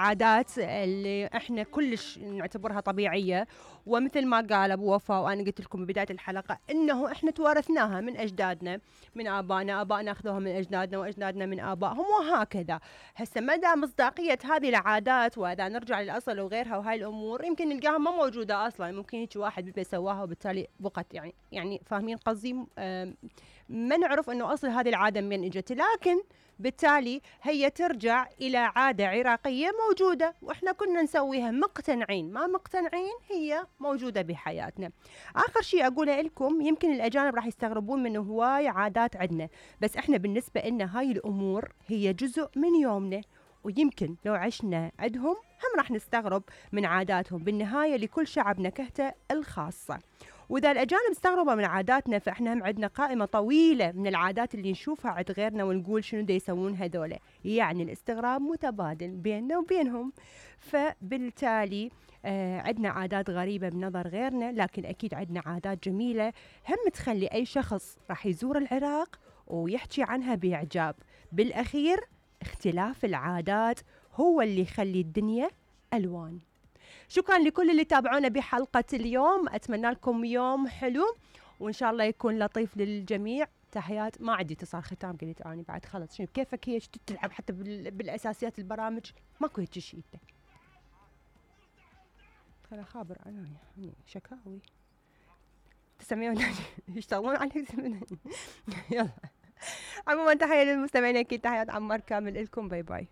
العادات اللي احنا كلش نعتبرها طبيعية، ومثل ما قال ابو وفاء وانا قلت لكم ببداية الحلقة انه احنا توارثناها من اجدادنا، من ابائنا اخذوها من اجدادنا، واجدادنا من ابائهم، وهكذا. هسه مدى مصداقية هذه العادات، واذا نرجع للاصل وغيرها وهاي الامور يمكن نلقاها ما موجودة اصلا، ممكن هيك واحد بده سواها وبالتالي بقت يعني فاهمين قصدي. ما نعرف انه اصل هذه العادة من اجت، لكن بالتالي هي ترجع الى عادة عراقية موجودة واحنا كنا نسويها مقتنعين ما مقتنعين، هي موجودة بحياتنا. اخر شيء اقوله لكم، يمكن الاجانب راح يستغربون من هواي عادات عندنا، بس احنا بالنسبة لنا هاي الامور هي جزء من يومنا، ويمكن لو عشنا عندهم هم راح نستغرب من عاداتهم. بالنهاية لكل شعب نكهته الخاصة، وإذا الأجانب استغربوا من عاداتنا فإحنا هم عندنا قائمة طويلة من العادات اللي نشوفها عند غيرنا ونقول شنو دا يسوون هذولا، يعني الاستغراب متبادل بيننا وبينهم. فبالتالي عندنا عادات غريبة بنظر غيرنا، لكن أكيد عندنا عادات جميلة هم تخلي أي شخص راح يزور العراق ويحكي عنها بإعجاب. بالأخير اختلاف العادات هو اللي يخلي الدنيا ألوان. شكرا لكل اللي تابعونا بحلقة اليوم، أتمنى لكم يوم حلو وإن شاء الله يكون لطيف للجميع. تحيات. ما عندي اتصال ختام، قلت أنا بعد خلص شنو كيفك هي تلعب حتى بالأساسيات البرامج ماكو هيك شيء. خلا خابر أنا يعني شكاوي تسمعون يشتغلون عليك. يلا عموما تحية للمستمعين، أكيد تحيات عمار كامل لكم، باي باي.